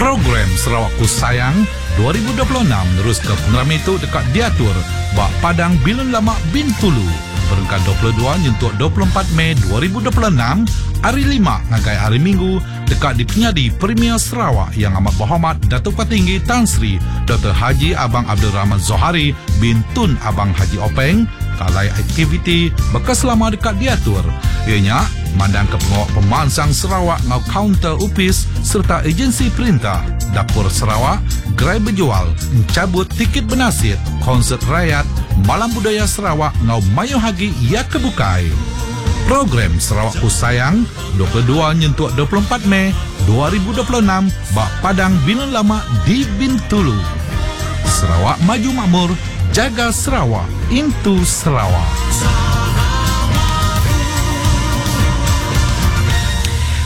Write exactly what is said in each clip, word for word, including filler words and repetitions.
Program Sarawakku Sayang dua ribu dua puluh enam neruska pengerami tu deka diatur ba Padang Bilun Lama Bintulu berengkah dua puluh dua nyentuk dua puluh empat Mei dua ribu dua puluh enam hari lima ngagai hari Minggu deka dipenyadi Premier Sarawak Yang Amat Berhormat Datuk Patinggi Tan Sri Doktor Haji Abang Abdul Rahman Zohari bin Tun Abang Haji Openg kalai aktiviti bekas selama dekat diatur ianya mandang ke pengawal pemansang Sarawak ngau kaunter upis serta agensi perintah Dapur Sarawak, gerai berjual, encabut tiket bernasit, konsert rakyat, Malam Budaya Sarawak ngau mayuh hagi ia kebukai. Program Sarawakku Sayang dua puluh dua nyentuk dua puluh empat Mei dua ribu dua puluh enam bak Padang Bilun Lama di Bintulu. Sarawak Maju Makmur, jaga Sarawak, into Sarawak.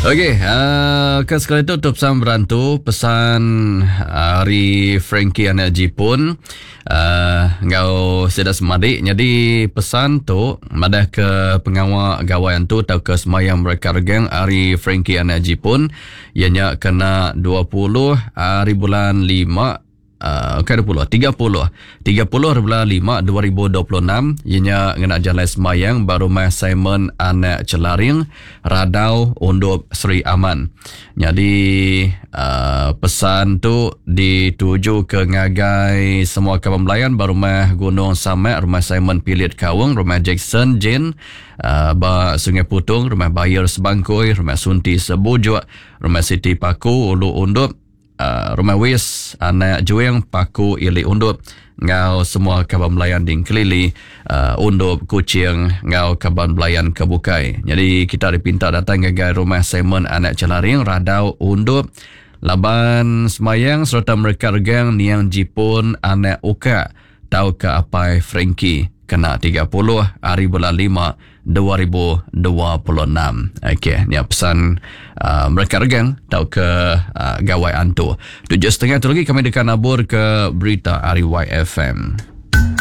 Okey, uh, ke sekali tu tu pesan berantu, pesan hari Frankie anak Jipun, uh, ngau sedak semadik. Jadi pesan tu madah ke pengawal gawai tu atau ke semayang mereka regang hari Frankie anak Jipun, ianya kena dua puluh hari bulan lima. Uh, ke dua puluh, tiga puluh. tiga puluh bulan lima dua ribu dua puluh enam, ianya ngena jalan semayang baru rumah Simon anak Celaring, Radau Undop Seri Aman. Jadi uh, pesan tu dituju ke ngagai semua kawan melayan baru rumah Gunung Samak, rumah Simon Pilit Kawung, rumah Jackson Jane, uh, ba Sungai Putung, rumah Bayer Sebangkoi, rumah Sunti Sebujuk, rumah Siti Paku Ulu Undop, Uh, rumah Wis anak Juing Paku Ili Undop ngau semua kaban belayan di Kelili, uh, Undop Kuching ngau kaban belayan kebukai. Jadi kita dipinta datang ke rumah Simon anak Celaring Radau Undop laban semayang serta mereka regang niang Jipun anak Uka tau ke apai Frankie kena tiga puluh hari bulan lima dua ribu dua puluh enam. Okey, ni pesan uh, mereka regang tau ke uh, gawai antu. Tujuh setengah tu lagi kami dekat nabur ke berita R Y F M.